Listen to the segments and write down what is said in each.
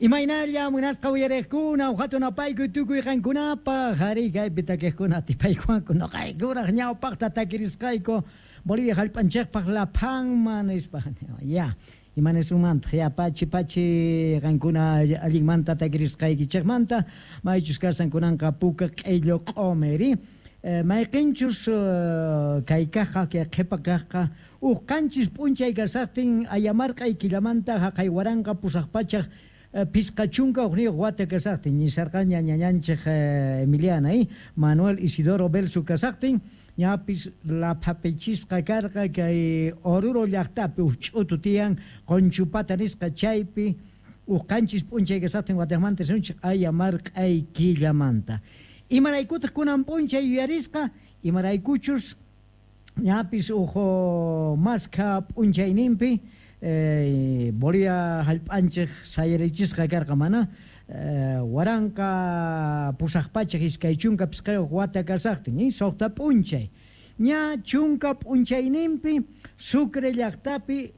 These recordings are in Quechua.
Imaynalla munasqa uyariqkuna uhatun apaykuy tukuy qankunapaq arí kaypi takiqkuna atipaykuwanku nuqaykuraq ñawpaqta takirisqayku Bolivia hallp'anchikpaq laphanman nispa ya imanisunmantaq ya pachi pachi qankuna allinmanta takirisqaykichikmanta maychus kasan kunanqa puka q'illu q'umiri mayqinchus kay kaqqa kay qhipa kaqqa huk qanchis p'unchay kasaqtin ayamarq'ay killamanta haqay 1851 wata kasaqtin ñisarqaña ñañanchik Emiliana Manuel Isidoro Belsu kasaqtin ñapis laphapichisqa karqa kay Oruro llaqtapi huk ch'utu tiyan Qunchupata nisqa chaypi huk qanchis p'unchay kasaqtin wataqmanta risunchik ayamarq'ay killamanta. Imaraykutaq kunan p'unchay yuyarisqa imaraykuchus ñapis huk maskha p'unchayninpi Bolivia hallp'anchik sayarichisqa karqa mana 1825 wata kasaqtin suqta p'unchay ña chunka p'unchayninpi Sucre llaqtapi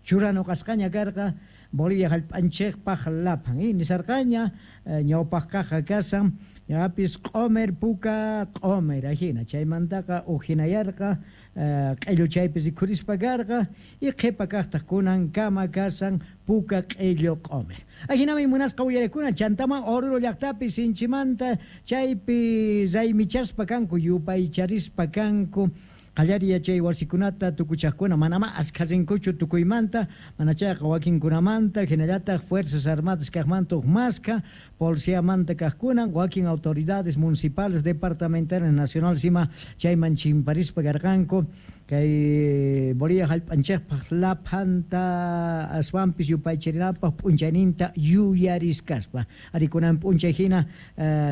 churanuqasqaña karqa Bolivia hallp'anchikpaq laphan nisarqaña ñawpaq kaqqa kasan ñapis q'umir puka q'umir ajina chaymantaqa ujinayarqa q'illu chaypi rikhurispa karqa y qhipa kaqtaq kunankama kasan puka q'illu q'umir. Ajinami munasqa uyarikuna chantaman Oruro llaqtapi sinchimanta chaypi raymichaspa kanku yupaycharispa kanku qallari yachay wasikunata tukuchaqkuna manama askha rinkuchu tukuymanta mana chayqa wakinkunamanta hinallataq Fuerzas Armadas kaqmanta huk maskha policiamanta kaqkuna wakin autoridades municipales departamentales nacionales ima chayman chimparispa karqanku kay Bolivia hallp'anchikpaq laphanta aswanpis yupaycharinapaq p'unchayninta yuyariskaspa ari kunan p'unchay hina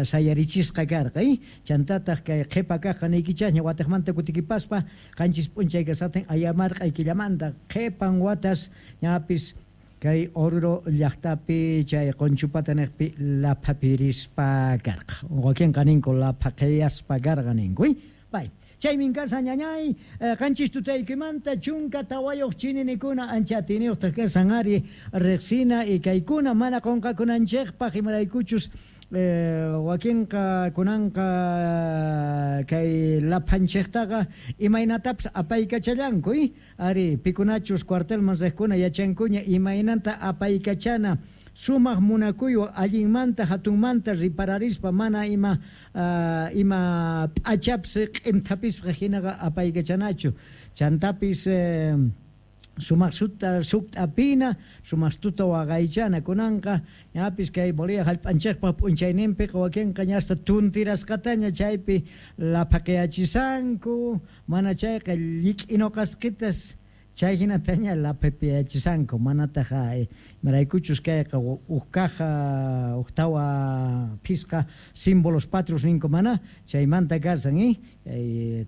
sayarichisqa karqa chantataq kay qhipa kaqqa niykichasña wataqmanta kutikipaspa qanchis p'unchay kasaqtin ayamarq'ay killamanta qhipan watas ñapis kay Oruro llaqtapi chay Qunchupata niqpi laphapirispa karqa wakinqa ninku laphaqiyaspa karqa ninku pay chaymin kasan ñañay qanchis tutaykimanta 14 chininikuna ancha atiniyuqtaq kasan ari riqsina y kaykuna mana qunqakunanchikpaq imaraykuchus wakinqa kunanqa kay laphanchiktaqa imaynatapis apaykachallanku ari pikunachus cuartelman riqkuna yachankuña imaynanta apaykachana sumaq munakuywan allinmanta hatunmanta ripararispa mana ima ima p'achapis q'imthapisqa hinaqa apaykachanachu chantapis sumaq sukt'apina sumaq tuta waqaychana kunanqa ñapis kay Bolivia hallp'anchikpaq p'unchayninpiqa wakinqa ñasta tuntirasqataña chaypi laphaqayachisanku mana chayqa llik'inuqasqitas chay hinataña laphapiyachisanku manataq imaraykuchus kayqa huk kaja huk tawa phisqa símbolos patrios ninku mana chaymanta kasan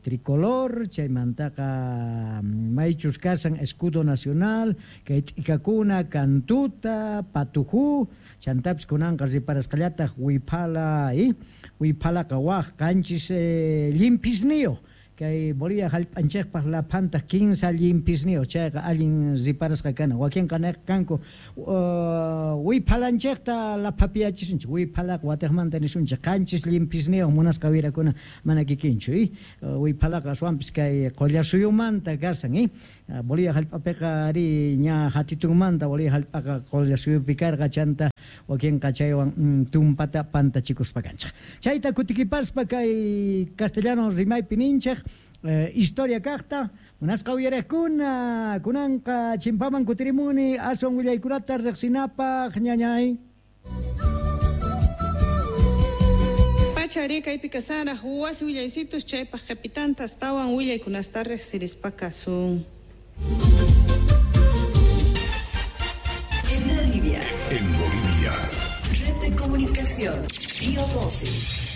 tricolor chaymantaqa maychus kasan escudo nacional kay t'ikakuna kantuta patujú chantapis kunanqa riparasqallataq wiphala wiphalaqa waq qanchis llimpisniyuq kay Bolivia hallp'anchikpaq laphantaq 15 llimpisniyuq chayqa allin riparasqa kana wakinqa niq kanku wiphalanchikta laphapiyachisunchik wiphalaqa watiqmanta nisunchik qanchis llimpisniyuq munasqa wirakuna mana kikinchu wiphalaqa aswanpis kay Qullasuyumanta kasan Bolivia hallp'apiqa ari ña hatitunmanta Bolivia hallp'aqa Qullasuyupi karqa chanta wakinqa chaywan tumpata pantachikuspa kanchik chayta kutikipaspa kay castellano rimaypi ninchik historia kaqta munasqa uyariqkuna kunanqa chimpaman kutirimuni aswan willaykunata riqsinapaq ñañay Pachari kaypi kasaraq wasi willaysitus chaypaq qhipitanta astawan willaykunasta riqsirispa kasun. En Bolivia. En Bolivia. Red de Comunicación. Río 12.